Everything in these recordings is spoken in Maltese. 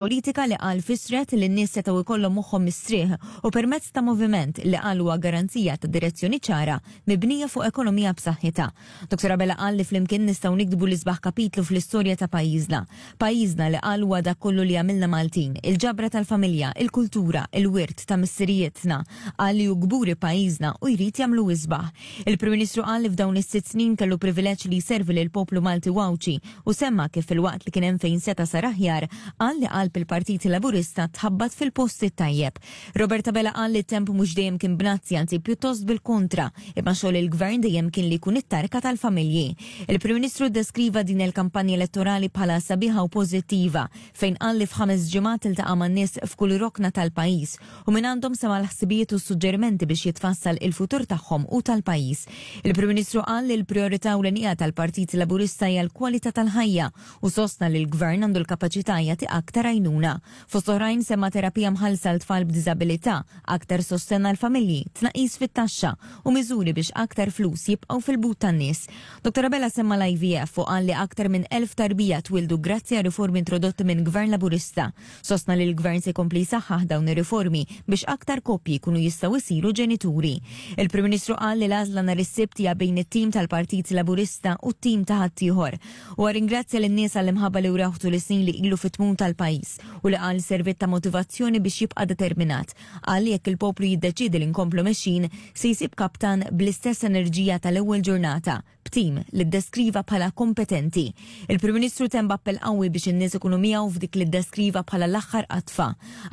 Politika li qal fissret li n-nies setgħu jkollhom moħħhom mistrieħ u permezz ta' moviment li qal huwa garanzija ta' direzzjoni ċara mibnija fuq ekonomija b'saħħitha. Dr. Abela qal li flimkien nistgħu niktbu l-isbaħ kapitlu fl-istorja ta' pajjiżna. Pajjiżna li qal huwa dak kollu li għamilna Maltin, il-ġabra tal-familja, il-kultura, il-wirt ta' missirijietna. Qal li hu kburi pajjiżna u jrid jagħmlu isbaħ. Il-Prim Ministru qal li f'dawn is-sitt snin kellu privileġġ li jservi lill-poplu Malti u Għawdxi u semma kif filwaqt li kien hemm fejn seta' sar aħjar, qal li qalb il-Partit Laburista tħabbat fil-post it-tajjeb. Robert Abela qal li t-temp mhux dejjem kien bnazzi anzi pjuttost bil-kontra, imma xogħol il-Gvern dejjem kien li jkun it-tarka tal-familji. Il-Prim Ministru ddeskriva din il-kampanja elettorali bħala sabiħa u pożittiva, fejn qal li f'ħames ġimgħat iltaqa' man-nies f'kull rokna tal-pajjiż u mingħandhom sema' l-ħsibijiet u s-suġġerimenti biex jitfassal il-futur tagħhom u tal-pajjiż. Il-Prim Ministru qal li l-prijorità ewlenija tal-Partit Laburista hija l-kwalità tal-ħajja u sostna li l-Gvern għandu l-kapaċità jagħti aktar għajnuna. Fost oħrajn semma terapija mħallsa għal tfal b'diżabilità, aktar sostenn għall-familji, tnaqqis fit-taxxa u miżuri biex aktar flus jibqgħu fil-but tan-nies. Dottor Abela semma l-IVF u qal li aktar minn 1,000 tarbija twieldu grazzi għar-riformi introdotti minn Gvern Laburista. Sostna li l-Gvern se jkompli jsaħħaħ dawn ir-riformi biex aktar koppji jkunu jistgħu jsiru ġenituri. Il-Prim Ministru qal li l-għażla nhar is-Sibt hija bejn it-tim tal-Partit Laburista u t-tim ta' ħaddieħor. Huwa rringrazzja lin-nies għall-imħabba li wrewh tul is-snin li ilu fit-tmun tal-pajjiż u li qal serviet ta' motivazzjoni biex jibqa' determinat. Qal li jekk il-poplu jiddeċiedi li nkomplu mexjin, se jsib kaptan bl-istess enerġija tal-ewwel ġurnata, b'tim li ddeskriva bħala kompetenti. Il-Prim Ministru temm b'appell qawwi biex in-nies ikunu miegħu f'dik li ddeskriva bħala l-aħħar qadfa.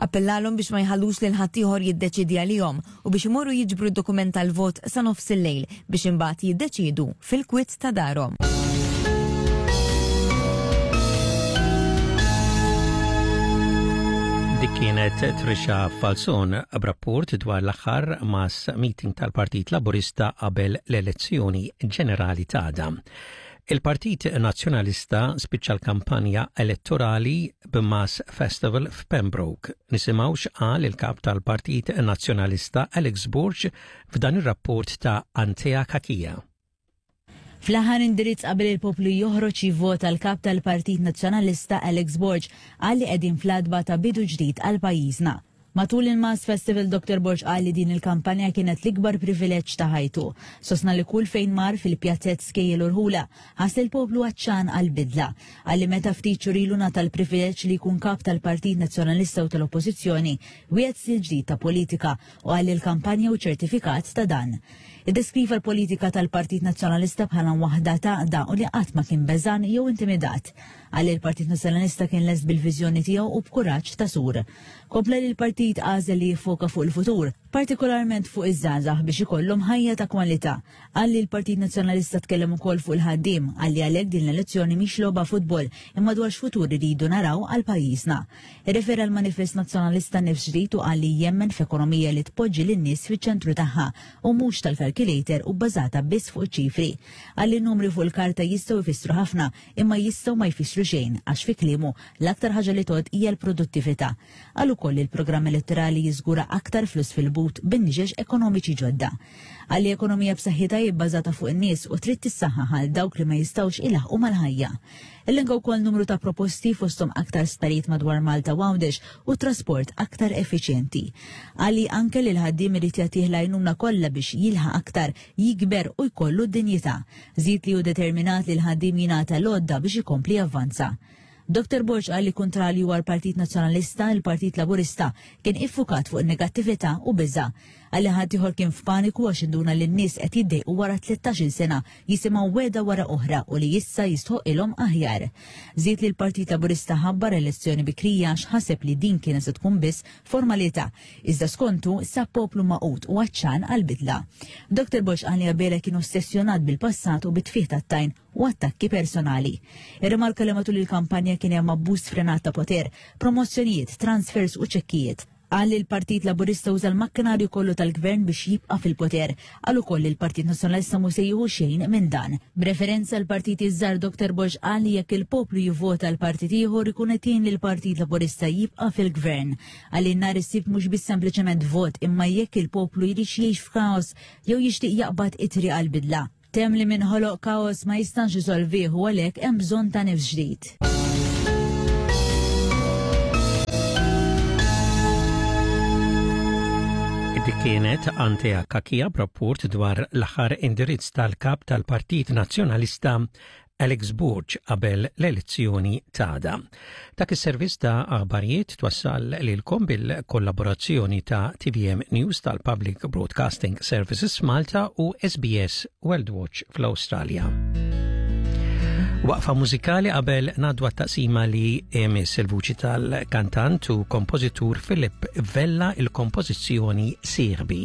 Appellalhom biex ma jħallux lil ħaddieħor jiddeċiedi għalihom u biex imorru jiġbru d-dokument tal-vot sa nofsillejl biex imbagħad jiddeċiedu fil-kwiet ta' darhom. Dik kienet Trisha Falzon b'rapport dwar l-aħħar mass meeting tal-Partit Laburista qabel l-elezzjoni ġenerali t'għada. Il-Partit Nazzjonalista spiċċa l-kampanja elettorali b'Mass Festival f'Pembroke. Nisimgħu x'qal il-kap tal-Partit Nazzjonalista Alex Borg f'dan ir-rapport ta' Antea Cachia. Fl-aħħar indirizz qabel il-poplu joħroġ jivvota l-Kap tal-Partit Nazzjonalista Alex Borg qal li qegħdin fl-għatba ta' bidu ġdid għal pajjiżna. Matul il-Mass Festival Dr Borg qal li din il-kampanja kienet l-ikbar privileġġ ta' ħajtu. Sostna li kull fejn mar fil-pjazzett skejjel u rħula ħass li l-poplu għatxan għal bidla. Qal li meta ftit xhur ilu ngħata l-privileġġ li jkun kap tal-Partit Nazzjonalista u tal-Oppożizzjoni wiegħed stil ġdid ta' politika u qal li l-kampanja hu ċertifikat ta' dan. Iddeskriva l-politika tal-Partit Nazzjonalista bħala waħda t'għaqda u li qatt ma kien beżgħan jew intimidat. Qal li l-Partit Nazzjonalista kien lest bil-viżjoni tiegħu u b'kuraġġ ta' sur. Kompla li l-partit għażel li jiffoka fuq il-futur, partikolarment fuq iż-żgħażagħ biex ikollhom ħajja ta' kwalità. Qal li l-Partit Nazzjonalista tkellem ukoll fuq il-ħaddiem, qal li għalhekk din l-elezzjoni mhix logħba futbol imma dwar x'futur iridu naraw għal pajjiżna. Irrefera għall-manifest Nazzjonalista Nifs Ġdid u qal li jemmen f'ekonomija li tpoġġi lin-nies fiċ-ċentru tagħha u mhux tal-calculator u bbażata biss fuq iċ-ċifri. Qal li n-numri fuq il-karta jistgħu jfissru ħafna imma jistgħu ma jfissru xejn għax fi kliemu l-aktar ħaġa li tgħodd hija l-produttività. Qal ukoll li l-programm elettorali jiżgura aktar flus fil-but bin-niċeċ ekonomiċi ġodda. Qal li ekonomija b'saħħitha hi bbażata fuq in-nies u trid tissaħħaħ għal dawk li ma jistgħux ilaħħqu mal-ħajja. Elenka wkoll numru ta' proposti fosthom aktar sptarijiet madwar Malta u Għawdex u trasport aktar effiċjenti. Qal li anke li l-ħaddiem irid jagħtih l-għajnuna kollha biex jilħaq aktar, jikber u jkollu d-dinjità. Żied li hu determinat li l-ħaddiem jingħata l-għodda biex ikompli javvanza. Dr Borg qal li kuntrarju għall-Partit Nazzjonalista, il-Partit Laburista kien iffukat fuq in-negattività u biża'. Qal li ħaddieħor kien f'paniku għax induna li n-nies qed jiddejqu wara 13-il sena jisimgħu wegħda wara oħra u li issa jistħoqqilhom aħjar. Żied li l-Partit Laburista ħabbar elezzjoni bikrija għax ħaseb li din kienet se tkun biss formalità, iżda skontu sab poplu magħqud u għatxan għall-bidla. Dr Borg qal li Abela kien ossessjonat bil-passat u bit-tfigħ tat-tajn u attakki personali. Irrimarka li matul il-kampanja kien hemm abbuż sfrenat ta' poter, promozzjonijiet, transfers u ċekkijiet. Qal li l-Partit Laburista uża l-makkinarju kollu tal-Gvern biex jibqa' fil-poter. Qal ukoll li l-Partit Nazzjonalista mhu se jieħu xejn minn dan. B'referenza għall-partiti ż-żgħar Dr Borg qal li jekk il-poplu jivvota għal partit ieħor ikun qed jgħin lill-Partit Laburista jibqa' fil-Gvern. Qal li nhar is-Sibt mhux biss sempliċement vot imma jekk il-poplu jridx jgħix f'kaos jew jixtieq jaqbad it-triq għall-bidla. Temm li min ħoloq kaos ma jistax isolvih u għalhekk hemm bżonn ta' nifs ġdid. Kienet Antea Kakia b'rapport dwar l-aħħar indirizz tal-kap tal-Partit Nazzjonalista Alex Borg qabel l-elezzjoni t'għada. Dak is-servizz ta' aħbarijiet twassal lilkom bil-kollaborazzjoni ta' TVM News tal-Public Broadcasting Services Malta u SBS World Watch fl-Awstralja. Waqfa mużikali qabel nadwa taqsima li emis il-vuċi tal-kantant u kompożitur Philip Vella il-kompożizzjoni Sirbi.